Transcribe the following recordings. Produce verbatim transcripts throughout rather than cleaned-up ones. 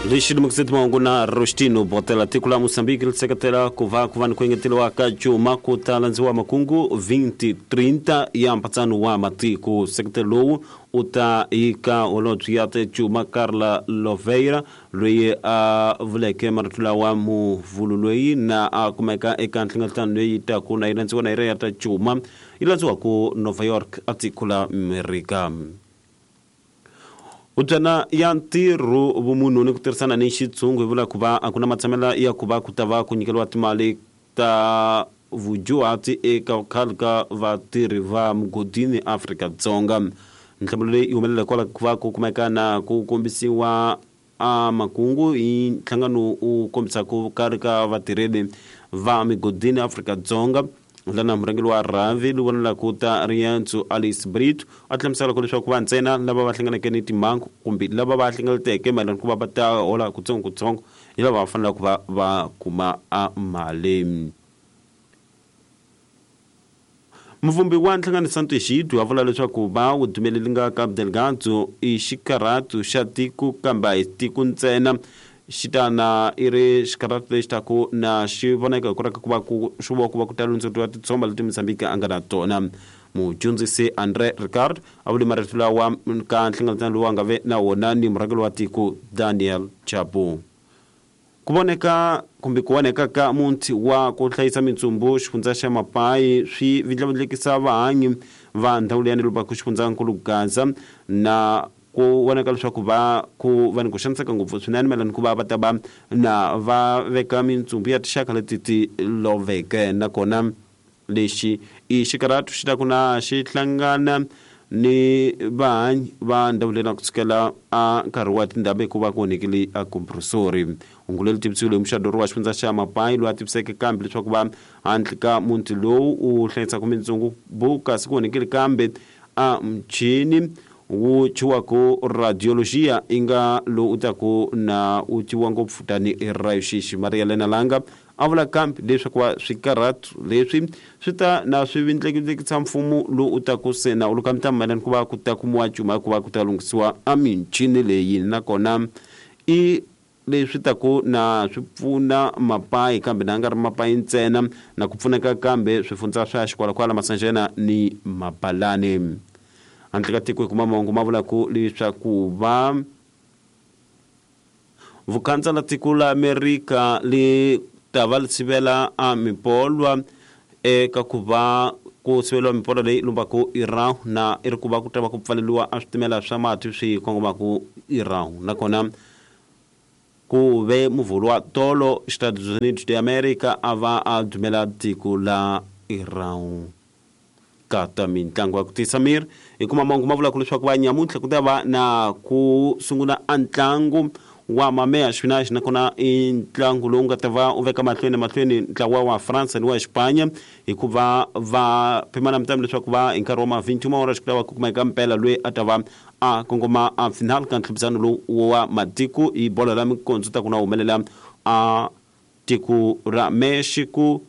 Lexi lemukiseti mahungu na Rostino Botela. Tiko la Mozambique ri seketela ku va ku va ni ku engeteriwa ka cuma ku ta landziwa makungu twenty thirty ya mpatsano wa matiko. Seketelo lowu u ta ika holobye ya cuma Carla Loveira loyi a vuleke marito lawa muvulu loyi na a kumeka eka nhlengeletano leyi taku na yi landziwa na yi ri ya ta cuma yi landziwa ku Nova York a tiko la Amerika. Ubyana ya ntirho vumunhu ni ku tirhisana ni xitshungu hi vula ku va a ku na matshamela ya ku va ku ta va ku nyikeriwa timali ta vudyuhati eka khale ka vatirhi va mugodini Afrika-Dzonga. Nhlamulo leyi yi humelela kwala ku va ku kumeka na ku kombisiwa a makungu hi nhlangano u kombisa ku karhi ka vatirheli va migodini Afrika-Dzonga. Lana murhangeri wa rhavi lowu vonelaka ta riendzo Alice Brito a hlamusela ku leswaku va ntsena lava va hlanganeke ni timhangu kumbe lava va hlengeleteke mayelana ku va va ta hola kutsongokutsongo hi lava va fanelaka ku va va kuma a mali. Muvumbi wa nhlangano Santo Xidyu a vula leswaku va wu dumelela ka Delgado i xikarhatu xa tiko kambe a hi tiko ntsena xitana i ri xikarhatu lexi taku na xi voneka hi ku raka ku va ku swi vona ku va ku ta lundzuriwa titshomba leti Mozambique a nga na tona. Mudyondzisi Andre Ricard a vule marito lawa ka nhlengeletano lowu a nga ve na wona ni murhangeri wa tiko Daniel Chapo. Ku voneka kumbe ku voneka ka muti wa ku hlayisa mintsumbu xifundza xa Mapai swi vindlavindlekisa vahanyi va ndhawu leyi ni ku xifundzankulu Gaza na ku vonaka leswaku va ku va ni ku xaniseka ngopfu swinene mayelana ku va va ta va na va veka mintsumbu ya tinxaka leti ti loveke. Nakona lexi i xikarhatu xi ta ku na xi hlangana ni vahanyi va ndhawu leyi na ku sukela a nkarhi wa tindhambi hikuva ku onhekile a compressori. Hungu leri tivisiwile hi muxadori wa xifundza xa Mapai loyi a tiviseke kambe leswaku va handle ka muti lowu u hlayisaka mintsumbu kasi ku onhekile kambe a muchini wu thyiwaku radiologia i nga lowu u taku na u tyiwa ngopfu tanihi rayuxixi. Maria Lena Langa a vula kambe leswaku va swikarhatu leswi swi ta na swi vindlekindlekisa mfumo lowu u taku se na u luka mitamu mayelana ku va ku ta kumiwa cuma ku va ku ta lunghisiwa a michini leyi. Nakona i leswi taku na swi pfuna Mapai kambe na nga ri Mapai ntsena na ku pfuneka kambe swifundza swa Xikwalakwala, Masanjena ni Mabalani. Handle ka tiko hi kuma mahungu ma vula ku leswaku va vukhandza la tiko la Amerika li ta va li sivela a mipolwa eka ku va ku siveliwa mipolwa leyi lumbaku Iran na i ri ku va ku ta va ku pfaleriwa a switimela swa mati swi kongomaku Iran. Nakona ku ve muvhulu wa tolo Estados Unidos de America a va a dumela tiko la Iran. Kata mintlangu ya ku tisa miri hi kuma mahungu ma vulaka leswaku va nyamuntlha ku ta va na ku sungula a ntlangu wa mameya xipinachi nakona i ntlangu lowu nga ta va u veka mahlweni mahlweni ntlawa wa France ni wa Xipanya hikuva va pimana mitamu leswaku va hi nkarhi wa ma twenty-two mahora xi ku ta va ku kumeka mpela loyi a ta va a kongoma a final ka ntlhiphisano lowu wa matiko hi bolo la mikondzo ta ku na humelela a tiko ra Mexico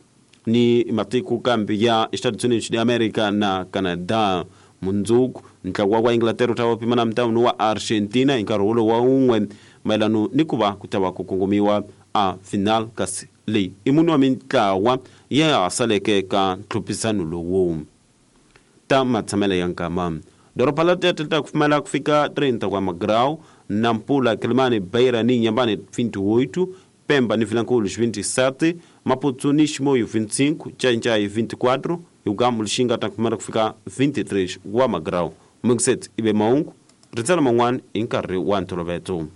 ni matiko kambe ya Estados Unidos de America na Canada. Mundzuku ntlawa wa Inglaterra wu ta va pimana mitamu wa Argentina hi nkarhi wolowo wa wun'we mayelana ni ku va ku ta va ku kongomiwa a final kasi leyi i munhu wa mintlawa ya ha saleke ka ntlhuphisano lowu. Ta matshamelo ya nkama doroba la Tete ta ku pfumela ku fika trinta wa magrau Nampula, Quelimane, Beira ni Inhambane vinte e oito, Pemba ni Vilankulo vinte e sete, Maputo ni Chimoio vinte e cinco, Xai-Xai vinte e quatro, Hugamu Lixinga ta kupfumela ku fika vinte e três wa magrau. Mungset ibe maungu ritsala man'wana hi nkarhi wa ntolovelo.